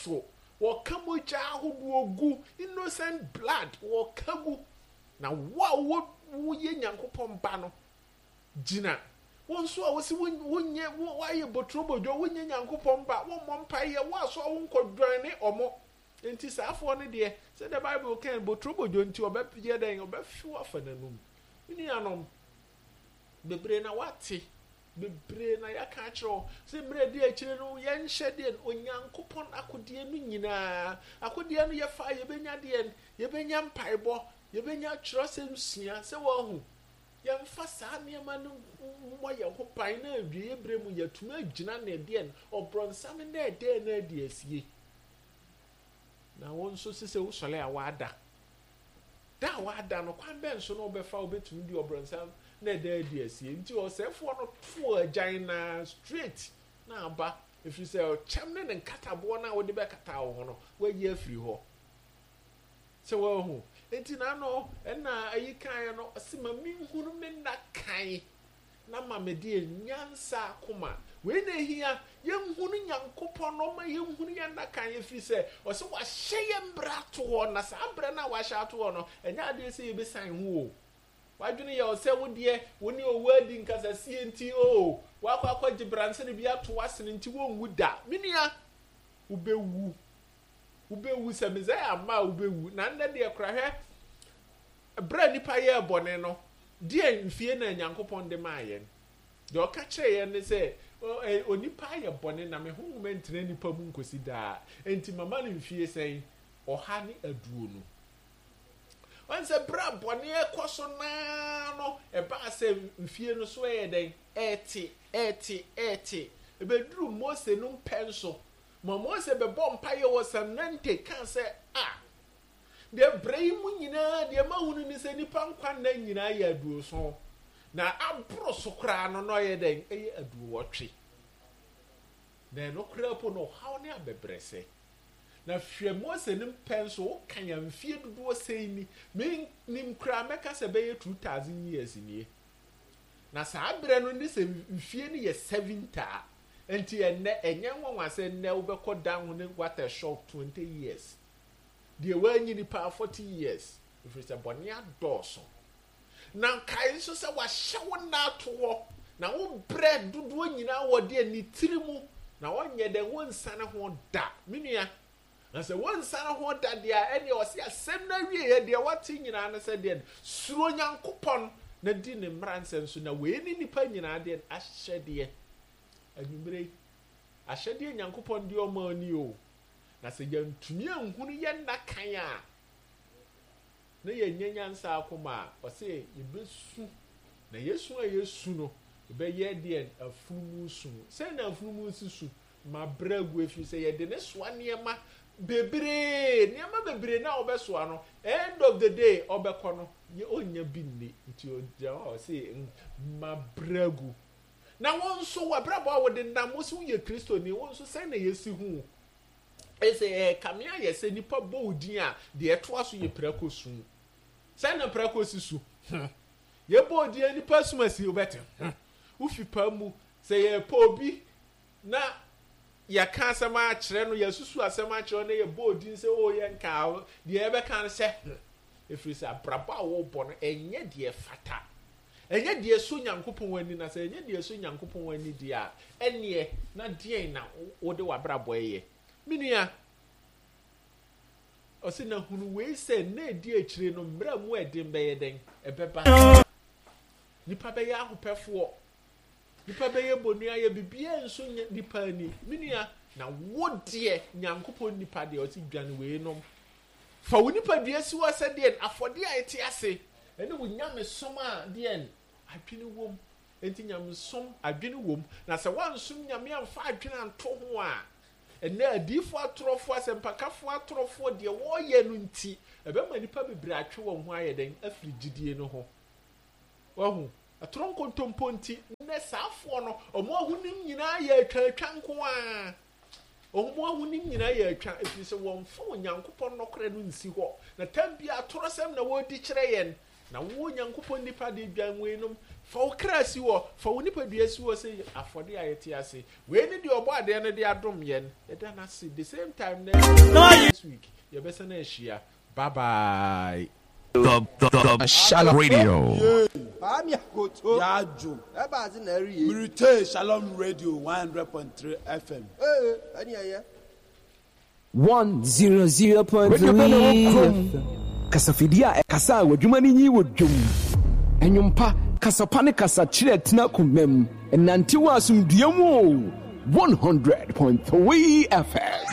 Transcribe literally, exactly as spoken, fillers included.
Adɔɔso. Wɔka mogya ahodoɔ gu, innocent blood, wɔka gu. Na wo a wo woyɛ Nyankopɔn ba no, gyina. Wo nso a wosi wonyɛ, woayɛ boturobodwo, wonyɛ Nyankopɔn ba, wommɔ mpaeɛ, wo aso a wonkɔdwan ne ɔmo. Nti saafoɔ no deɛ, sɛdeɛ Bible kan, boturobodwo nti ɔbɛyɛ dɛn? Ɔbɛhwe afa n'anum. Me nuanom, bebree na wate, bebree na yɛaka akyerɛ wo sɛ mmerɛ di akyire no, yɛnhyɛ deɛ Onyankopɔn akodeɛ no nyinaa. Akodeɛ no yɛfa, yɛbɛnya deɛ, yɛbɛnya mpaebɔ, yɛbɛnya twerɛsɛm sua sɛ wɔahu. Yɛmfa saa nneɛma no mmɔ yɛn ho ban na awieeɛ berɛ mu yɛatumi agyina ne deɛ ɔbrɔnsam na ɛdɛn na adi asie. Na wo nso sɛ wosɔre a wada. Da a wada no, kwan bɛn so na wobɛfa wobɛtumi de ɔbrɔnsam na ɛda adi asie? Nti ɔsɛefoɔ no too agyan na straight na aba, ɛfiri sɛ ɔkyɛm ne ne nkataboɔ no a wode bɛkata wo ho no, wayi afiri hɔ. Sɛ wɔahu. Nti n'ano ɛna ayi kan no, ɔsi ma menhunu me nna kan na ma me deɛ nyansa akoma. Wei na ehia, yɛnhunu Nyankopɔn no ma yɛnhunu yɛn nna kan, ɛfiri sɛ ɔsɛ wahyɛ yɛn mbrɛ ato hɔ, na saa mbrɛ no a wahyɛ ato hɔ no, ɛnyɛ adeɛ sɛ yɛbɛsan ho o. Wadwene yɛ ɔsɛ wo deɛ, wo ne owu adi nkasasie nti o, wakɔ akɔgye bransene bi ato w'asene nti wonwu da. Me nua, wobɛwu. Wobɛwu sɛ Mesaia amma a wobɛwu. Na nnɛ deɛ kora hwɛ, berɛ a nnipa yɛɛ bɔne no, deɛ mfie na Nyankopɔn de maa yɛn? Deɛ ɔka kyerɛ yɛn ne sɛ, onipa ayɛ bɔne na me honhom ntena nipa mu nkosi daa. Enti mama no mfie sɛn? Ɔha ne aduonu. Wɔn sɛ berɛ a bɔne ɛkɔ so naa no, ɛbaa sɛ mfie no so ɛyɛ dɛn? Ɛɛte, ɛɛte, ɛɛte. Ɛbɛduru Mose no mpɛn so. Ma Mose bɛbɔ mpaeɛ wɔ Sanante kaa sɛ, a, deɛ berɛ yi mu nyinaa deɛ mahunu ne sɛ nnipa nkwa nna nyinaa yɛ aduoson, na aboro so koraa no na ɔyɛ dɛn? Ɛyɛ aduowɔtwe. Na ɛno koraa po no ɔhaw ne abɛbrɛsɛ. Na hwɛ Mose no mpɛn so, woka yɛn mfie dodoɔ sɛn ni? Mennim koraa, mɛka sɛ bɛyɛ two thousand years nie. Na saa berɛ no ne sɛ mfie no yɛ seventy a, nti ɛnnɛ ɛnyɛ nwanwa sɛ nnɛ wobɛkɔ dan ho ne what a shock twenty years. Deɛ woanyi nipa forty years, ɛfiri sɛ bɔne adɔɔso. Na nkae nso sɛ wahyɛ wo nna ato hɔ, na wo brɛ dodoɔ nyinaa wɔ deɛ ne tiri mu, na wɔnyɛ dɛn, wonsane ho da. Me nua, na sɛ wonsane ho da deɛ a, ɛneɛ ɔse asɛm no awieɛ deɛ wate nyinaa ne sɛ deɛ suro Nyankopɔn na di ne mmara nsɛm so, na wei ne nipa nyinaa deɛ ahyɛdeɛ. Anwummerɛ yi, ahyɛdeɛ Nyankopɔn deɛ ɔma ani o. Na sɛ yɛntumi anhunu yɛn nna kan a, na yɛnyɛ nyansa akoma a, ɔse yɛbɛsu. Na yɛsu a yɛsu no, yɛbɛyɛ deɛ afunumu su. Sɛn na afunumu si su? Ma brɛ agu, ɛfiri sɛ yɛde ne soa nneɛma bebree. Nneɛma bebree na ɔbɛsoa no, end of the day ɔbɛkɔ no, yɛ ɔnnya bi nni. Nti ɔgyina hɔ a ɔse ma brɛ agu. Na wo nso w'abrabɔ a wode nam, wo sɛ woyɛ Kristoni, wo nso sɛn na yɛsi hu? Ɛsɛ ɛkame ayɛ sɛ nipa bɔ wo din a, deɛ ɛtoa so yɛ prako su. Sɛn na prako si su? Hmm. Yɛbɔ wo din a nipa sum asi, wobɛte. Hmm. Wofi pa mu, sɛ yɛpɛ obi na yɛka asɛm akyerɛ no, yɛsusu asɛm akyerɛ no, na yɛbɔ wo din sɛ o yɛnka, deɛ yɛbɛka no sɛ hmm. Ɛfiri sɛ abrabɔ a wobɔ no, ɛnyɛ deɛ fata. Ɛnyɛ deɛ ɛsɔ Nyankopɔn ani, na sɛ ɛnyɛ deɛ ɛsɔ Nyankopɔn ani deɛ a, ɛneɛ na deɛn na wode w'abrabɔ ɛyɛ? Me nua, ɔse na hunu wei sɛ nna edi akyire no mmerɛ mu ɛden bɛyɛ dɛn? Ɛbɛba. Nipa bɛyɛ ahopɛfoɔ. Nipa bɛyɛ bonua, yɛ biribiara nso nyɛ nipa ani. Me nua, na wo deɛ Nyankopɔn nipa deɛ ɔse dwane wei nom. Fa wo nipadua si hɔ sɛ deɛn? Afɔdeɛ a ɛte ase. Ɛne wo nyamesom a deɛn? Adwene wom. Enti nyamesom adwene wom. Na sɛ woansom Nyame amfa adwene anto ho a, ɛnnɛ adiyifoɔ atorɔfoɔ, asɛmpakafoɔ atorɔfoɔ, deɛ wɔreyɛ no nti, ɛbɛma nnipa bebree atwe wɔn ho ayɛ dɛn? Afiri gyidie no ho. Wahu? Atorɔ nkontompo nti, nnɛ saafoɔ no, wɔn ahonim nyinaa yɛ atwaatwa nko ara. Wɔn ahonim nyinaa yɛ atwa, ɛfiri sɛ wɔmfa Onyankopɔn nɔkorɛ no nsi hɔ. Na tam biara atorɔsɛm na wɔredi kyerɛ yɛn. Na wo Nyankopɔn nipa de dwan weinom, fa wo kra si hɔ, fa wo nipadua si hɔ sɛ afɔde a yɛte ase. Wei ne deɛ ɔbɔ adeɛ no de adom yɛn. Yɛda no ase. The same time next week yɛbɛsan ahyia. Bye bye. The, the, the Shalom Radio. Paami akoto. Yaajo. Ɛba ase na ɛri ye. Mirite Shalom Radio one hundred point three F M. Ee, ɛni ɛyɛ. One zero zero point Radio bɛ na three wɔ kurom. Kasafidie a ɛkasa a w'adwuma no nyi wɔ dwom. Ɛnwompa, kasapa ne kasakyerɛ tena koma mu. Ɛnante wɔ asomdua mu o. one hundred point three F M.